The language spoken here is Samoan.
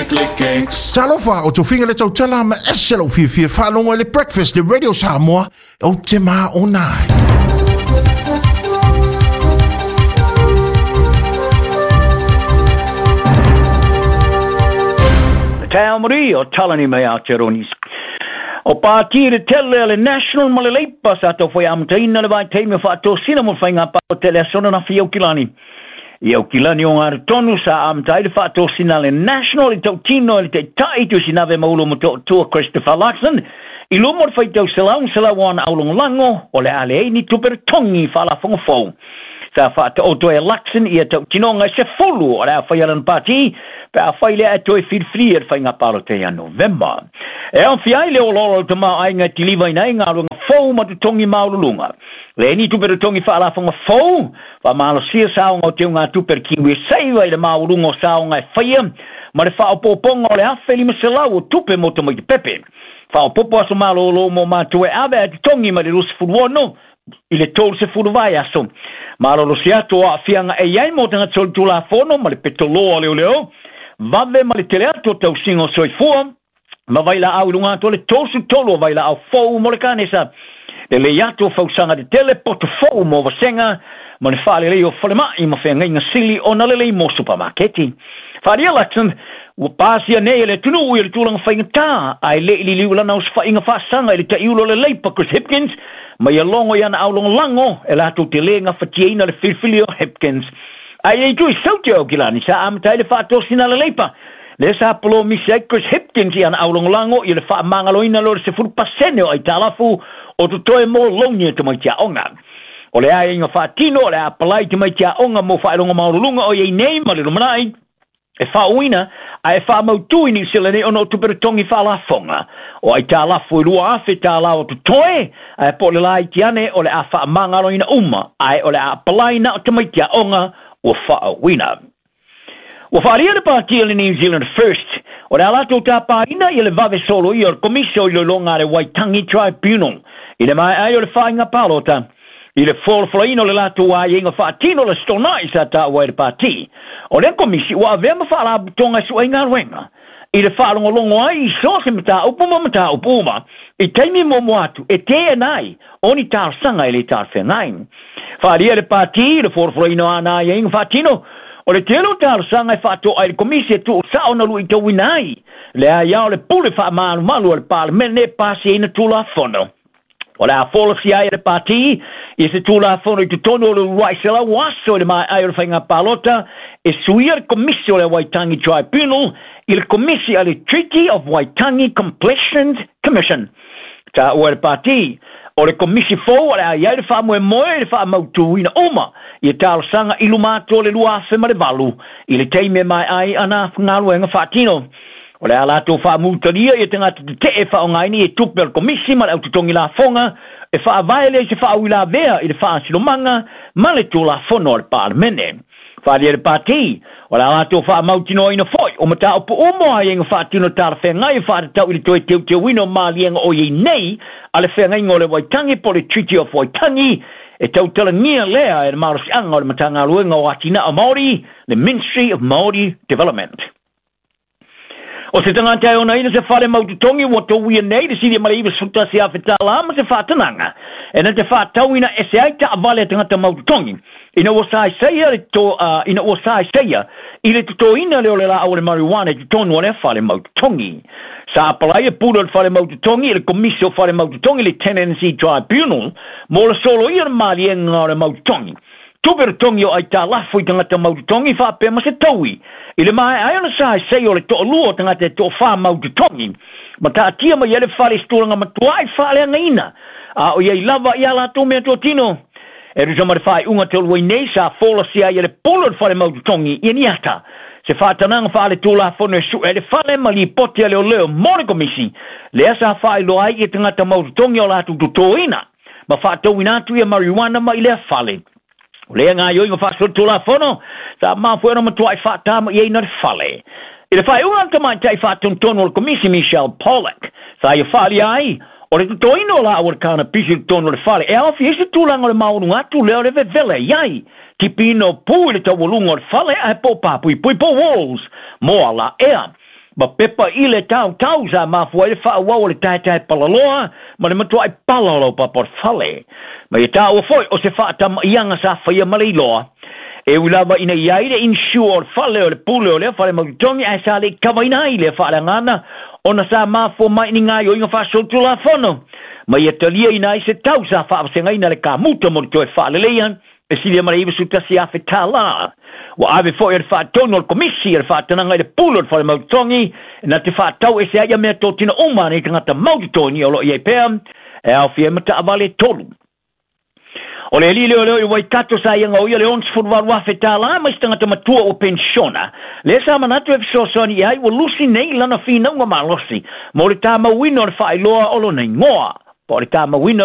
Click X. Talofa o tofiga le tautala ma ese lau fiafia faalogo i le Breakfast le Radio Samoa ou te maona ai. Te Marie o Talani mai Aotearoa. O pāti le tele le National ma le Leipa sa tau whai amataina le vaitaimi o whaatosina mo whainga pā o tele asona na whiau kilani. I au kilani o ngā tonu sa amatai le whaatosina le National i tautino i le te tai tu sinave maulo mo tua Christopher Luxon. I lumo le whaitau selau selau ana aulongolango o le ale ei ni tupere tongi whaalafongo fou. Sa whaata e Luxon i a tautino ngai se fulu o le a whaialan pāti pe a whai lea e toe whiriwhiri e whai ngā pāro te ia November. E au whiai le oloro te maa ai ngā tiliva ina i ngā runga fou ma te tongi maululunga. Le ni tupere tongi whaalafonga fou, wha maalosia saonga o te ngā tupere kiwi seiwa i le maulunga o saonga e whaia, ma le whaopoponga o le awhe lima selau o tupe mo te mai te pepe. Whaopopo aso malolo mo mātua e ave a te tongi ma le rusi furuono, i le tolu se furu vai aso. Malolo si atu o aafianga e iai mo tanga tolu tula fono ma le petoloa leo leo, vave ma le tele atu o tausinga o soifua, ma vai la au lunga atu le tosu tolu o vai la au fou mo le kanesa. Le le atu o fausanga te tele poto fou mo vasenga, ma le whaale lei o whalemai ma whea ngainga sili o na lelei mo supermarketi. Wharia Luxon, ua pāsia nei le tunu i le tūlanga whainga tā, ai le ili liu lana o whainga whaasanga i le taiulo le leipa Chris Hipkins, mai a longo i ana au longo lango, e lātou te lenga whatiaina le whiriwhiri o Hipkins. Ai ei tui sauti au kilani, sa amatai le whaatosina le leipa. Le sa polo misi ai Chris Hipkins i ana au longo lango i le whaamangaloina lo le 10% o ai tālafu o tutoe mō longi e te mai tia onga. O le ai inga whaatino, o le a palai te mai tia onga mō whaelonga maurulunga o iei nei ma le lumanai. E whaoina, a e whaamautu i New Zealand nei ono o tupere tongi whaalafonga. O ai tālafu i lua awhe tālau o tutoe, a e po le lai tiane o le a whaamangaloina uma, a e o le a palai na o te mai tia onga o whaoina. Ua whaaria le pāti le New Zealand First, o le alato tā pāina i le vave solo i o le komisio i le longa le Waitangi Tribunal, i le mai ai o le whainga pālota, i le wholawhalaina o le lātou ai inga whaatino le stonai sa tā ua i le pāti. O le komisi ua avea ma whaalabutonga sua i ngā ruenga. I le whaalongolongo ai i so se mata upu ma mata upu uma, i teimi momo atu e te enai o ni tārsanga i le tāwhengai. Whaaria le pāti i le wholawhalaina o ana ai inga whaatino, o le telo tārsanga e whaato ai le komisi e tuu sao na lui tauina ai. Le ai ao le pule whaamalumalu o le parlemene pāsi ina tūla fono. O le a folosi ai le pāti, i se tūla fono i te tonu o le ruaisela waso i le mai ai o le whainga pālota, e suia le komisi o le Waitangi Tribunal i le komisi a le Treaty of Waitangi Completion Commission. Tā ua le pāti, o le komisi fou o le ai ai le whaamue moe i le whaamautuina uma i e tālosanga i lumātua le lua awhe ma le valu i le teime mai ai ana ngaluenga whaatino. O le ala tō whaamutaria i te ngata te te e whaongaini e tupe o le komisi ma le aututongi la fonga e whaavaele i se whaawila vea i le whaasilomanga ma le tō la fono o le parlemene. Whaaria le pāti, o le ala tō whaamautino ina foi o mata o puumo ai inga whaatino tāra whengai e whaatatau i le toe teu te wino maalienga o iei nei a le whengai ngō le Waitangi po le Treaty of Waitangi e tautalangia lea e le marosianga o le matangaluenga o Atina o Māori, le Ministry of Māori Development. O se tangata e ona ina se whare maututongi ua tauia nei le siri mare iwa suta se awhe tāla ma se whaatananga. E na te whaatauina e se ai ta avale tangata maututongi. Ina ua sae seia le to, ina ua sae seia i le tutoina le o le la au le marijuana i tonu o le whare maututongi. Sa apalai e pura le whare maututongi i le komisi o whare maututongi le Tenancy Tribunal mo le solo ia le maalienga o le maututongi. Tupere tongi o ai tā lafu i tangata maututongi whaapea ma se taui. I le mai ai ona sae sei o le to'olua o tangata e to'owhā maututongi. Ma taatia mai ele whare sturanga matua ai whaaleanga ina. A o iei lava i a lātou mea tōtino. E rusa ma le whae unga te oluai nei sa folasia i le polo le whare maututongi i ni ata. Se whaatananga whaale tūla fono e su e le whare ma li pote ale o leo mo le komisi. Lea sa whae loa ai i tangata maututongi o lātou tutoina. Ma whaatauina atu ia marijuana ma i lea whale. O lea ngā ioi ngā whaasura tūla fono, sa māfuena matua i whaatama i eina le whale. I le whae unga tamai tai whaatontonu o le komisi Michelle Pollock, sa ia whaali ai, o le tutoino la o le kāna pisi le tonu o le whale, e awhi ese tūlanga o le maunu atu leo le vevele iai, tipino pū i le taualunga o le whale a he pō pāpui pui pō walls, mō ala ea. Ma pepa i le tautau sa mafua ai le faaauau o le taetae palaloa ma le matuai pala o laupapa o le fale. Ma ia taua foi o se faatamaiaga sa faia ma le iloa. E ui lava ina i ai le insure o le fale o le pule o lea fale mautotogi ae sa le i kavaina ai lea faaleagaga ona sa mafua mai i ni gaoioiga faasolitulafono ma ia taliaina ai se tau sa faavasegaina le kamuta mo le toe faaleleia e silia ma le $91,000. Ua ave foi e le faatonu o le Komisi le faatanaga i le pule o le fale mautotogi na te faatau ese ai ia meatotino uma a nei tagata mautotogi o lo o i ai pea e aofia ai ma taavale e tolu. O le alii leoleo i Waikato sa ia gaoia le $68,000 mai se tagata matua ua penisiona. Lea sa manatu e fesoasoani i ai ua lusi nei lana finauga malosi mo le tamauina o le faailoa o lona igoa po o le tamauina